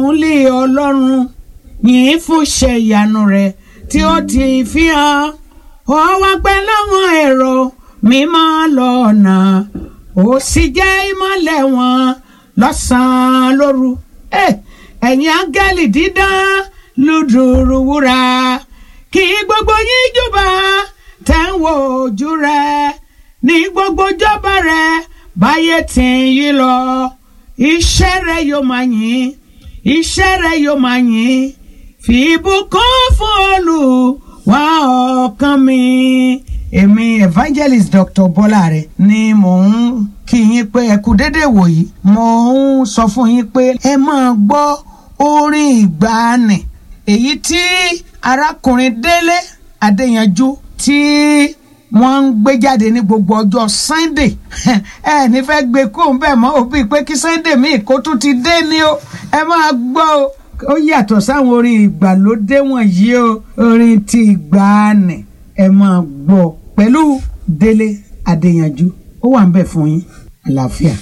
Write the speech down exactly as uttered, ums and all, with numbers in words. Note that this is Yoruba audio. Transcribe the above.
Ìbùkún lé Ọlọ́run yìí fún ṣe ìyanu rẹ̀ tí ó ti fi hàn ó wá pẹ́ láwọn èrò mímọ́ lọ́nà, ó sì jẹ́ ìmọ́lẹ̀ wọn lọ́sàn-án lóru. Eh, ẹ̀yin áńgẹ́lì dídán lùdùrù wúrà, kí gbogbo yín júbà tẹ̀ ń wo ojú rẹ̀ ní gbogbo jọba rẹ̀ báyé tí ń yí lọ. Iṣẹ́ rẹ̀ yóò máa yìn, iṣẹ́ rẹ̀ yóò máa yìn, fi ìbùkún fún Olúwa ọkàn mi. Èmi evangelist Doctor Bọ́láre ni mò ń kí yín pé ẹ kú déédéé wòyí. Mò ń sọ fún yín pé ẹ máa gbọ́ orin ìgbàanì èyí tí arákùnrin Délé Adéyanjú tí wọ́n ń gbé jáde ní gbogbo ọjọ́ Sunday. Ẹ ní fẹ́ gbé kóun bẹ́ẹ̀ mọ́ òbí pé kí Sunday míì kó tún ti dé ni o. Ẹ máa gbọ́ o, ó yàtọ̀ sáwọn orin ìgbàlódé wọ̀nyí o. Orin ti ìgbàanì ẹ máa gbọ́ pẹ̀lú Délé Adéyanjú, ó wà ń bẹ̀ fún yín. Àlàáfíà.